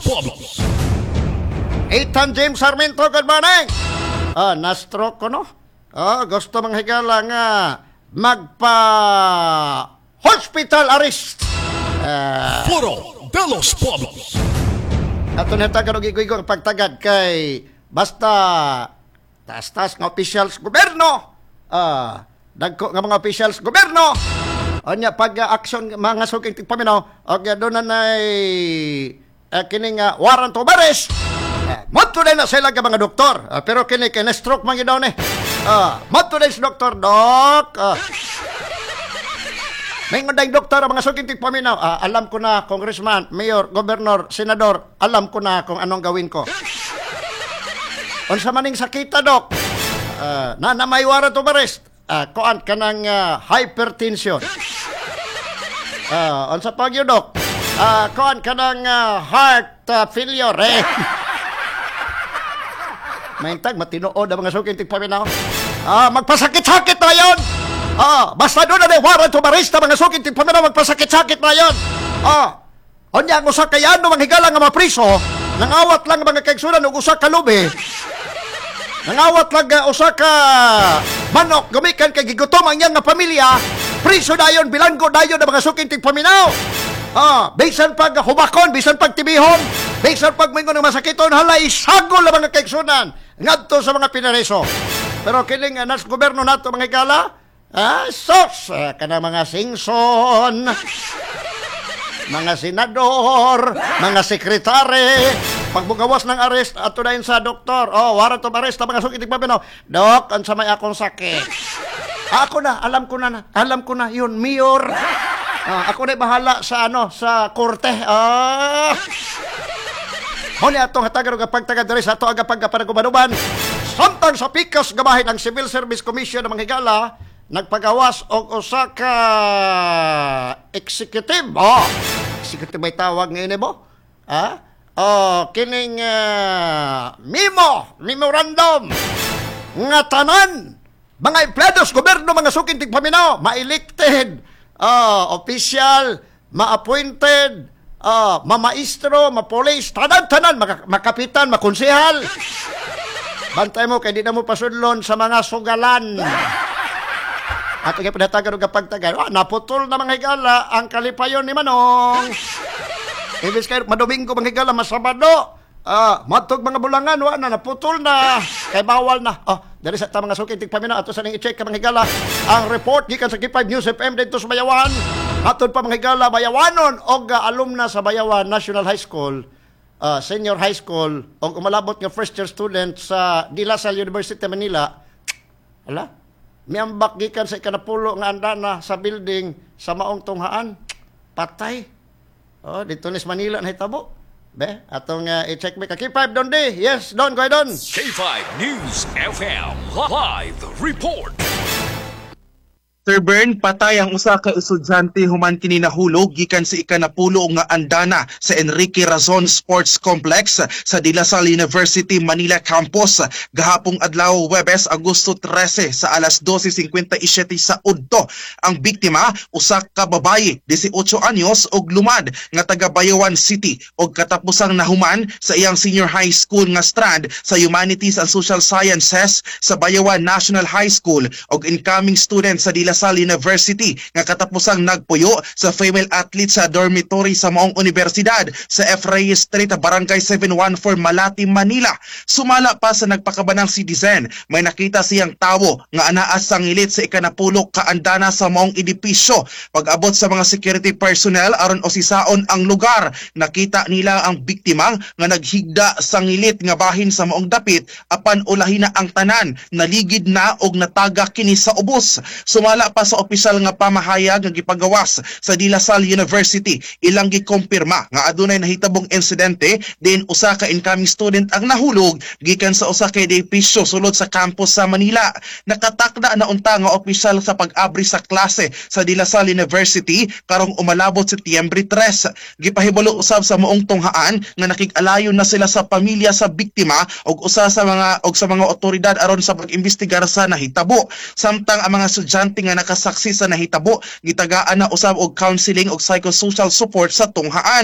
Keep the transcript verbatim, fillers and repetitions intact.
Pueblos. Ethan James Sarmiento, good morning! Ah, na-stroke ko, no? Ah, gusto mga higala nga magpa hospital arrest. Ah, Foro de los Pueblos. Ato nihatagan og igo ang pagtagad kay basta taas-taas nga officials gobyerno. Ah, dagko nga mga officials gobyerno. Unya pag uh, action mga suking tigpaminaw og uh, doon na nay uh, kining uh, warrant of arrest. Uh, Modto na sila nga mga doktor. Ah, pero kini kay na-stroke man gyud daw ni. Ah, modto na sa doktor, dok. Ah, may ngunday doktor ang mga suking tigpaminaw. Ah, alam ko na, congressman, mayor, governor, senador, alam ko na kung anong gawin ko. Unsa maning sakita, dok? Ah, na na may warrant of arrest. Ah, kuan kanang ah, hypertension. Ah, unsa pa gyud, dok? Ah, kuan kanang ah, heart ah, failure eh. Maintag matinuod ang mga suking tigpaminaw. Ah, magpasakit-sakit na yon. Ah, basta doon na warrant of arrest ang mga suking tigpaminaw, magpasakit-sakit na yon. Ah, unya ang usa ka yano mga higala nga mapriso, nangawat lang ang mga kaigsunan og usa ka lubi. Nangawat lang nga usa ka manok gumikan kay gigutom ang iyang nga pamilya, priso dayon, bilanggo dayon ang mga suking tigpaminaw. Ah, bisan pag hubakon, bisan pag tibihon, bisan pag moingon ng masakiton, hala isagol ang mga kaigsunan ngadto sa mga pinareso. Pero kining uh, nas gobyerno nato mga higala, ah, sos, ah, kanang mga Singson, mga senador, mga sekretary, pagbugawas ng arrest, ato na sa doktor. Oh, warrant of arrest, ang mga suking tigpaminaw. Dok, unsa may akong sakit? Ako na, alam ko na, na alam ko na, yun, mayor. Ah, ako na bahala sa ano, sa korte. Ah. Mao ni atong hatagan og pagtagad diri sa ato aga pagkapanagubanuban. Samtang sa pikas gabahin ang Civil Service Commission ng mga higala nagpagawas og usa ka executive. Oh, executive may tawag ngayon mo? Ha? Oh, kining uh, memo, memorandum nga tanan mga empleados gobyerno mga suking tigpaminaw ma-elected uh, official ma-appointed uh, mamaestro ma-police tanan-tanan maka- makapitan makonsehal bantay mo kay di na mo pasudlon sa mga sugalan at kay pinatagan og pagtagal ah, naputol na mga higala ang kalipayon ni Manong Ibis kayo, madomingo mga higala, masabado. Ah, matog mga bulangan, wa na, naputol na. Kay bawal na. Oh, diri sa ta mga suki tigpaminaw ato sa ning i-check ka mga higala ang report gikan sa K five News F M didto sa Bayawan. Atod pa mga higala Bayawanon og uh, alumna sa Bayawan National High School, uh, Senior High School og umalabot nga first year student sa De La Salle University Manila. Ala, miambak gikan sa ikanapulo nga andana sa building sa maong tunghaan. Patay. Oh, dito ni sa Manila nahitabo. Be, atong uh, i-check me ka K five Don D. Yes, Don, go ahead, Don. K five News F M Live Report. Sir Bern, patay ang usa ka estudyante human kini nahulog gikan sa ikanapulo nga andana sa Enrique Razon Sports Complex sa De La Salle University Manila Campus gahapong adlaw Webes, Agosto trese sa alas dose singkwenta y siyete sa udto. Ang biktima usa ka babayi, labing-walo anyos og lumad nga taga Bayawan City og katapusang nahuman sa iyang senior high school nga strand sa Humanities and Social Sciences sa Bayawan National High School og incoming student sa De La Salle University nga katapusang nagpuyo sa female athlete sa dormitory sa maong universidad sa F. Reyes Street, Barangay seven one four, Malate, Manila. Sumala pa sa nagpakabanang citizen, may nakita siyang tawo nga anaa sa ngilit sa ikanapulo kaandana sa maong edipisyo. Pag-abot sa mga security personnel aron osisaon ang lugar, nakita nila ang biktima nga naghigda sa ngilit nga bahin sa maong dapit apan ulahi na ang tanan, naligid na og nataga kini sa ubos. Sumala pa sa opisyal nga pamahayag nga gipagawas sa De La Salle University, ilang gikumpirma nga adunay nahitabong insidente din usa ka incoming student ang nahulog gikan sa usa ka edipisyo sulod sa campus sa Manila. Nakatakda na unta nga opisyal sa pag-abri sa klase sa De La Salle University karong umalabot Setyembre tres. Gipahibalo usab sa maong tunghaan nga nakig-alayon na sila sa pamilya sa biktima og usa sa mga og sa mga otoridad aron sa pag-imbestigar sa nahitabo. Samtang ang mga estudyante nga nakasaksi sa nahitabo gitagaan na usab og counseling og psychosocial support sa tunghaan.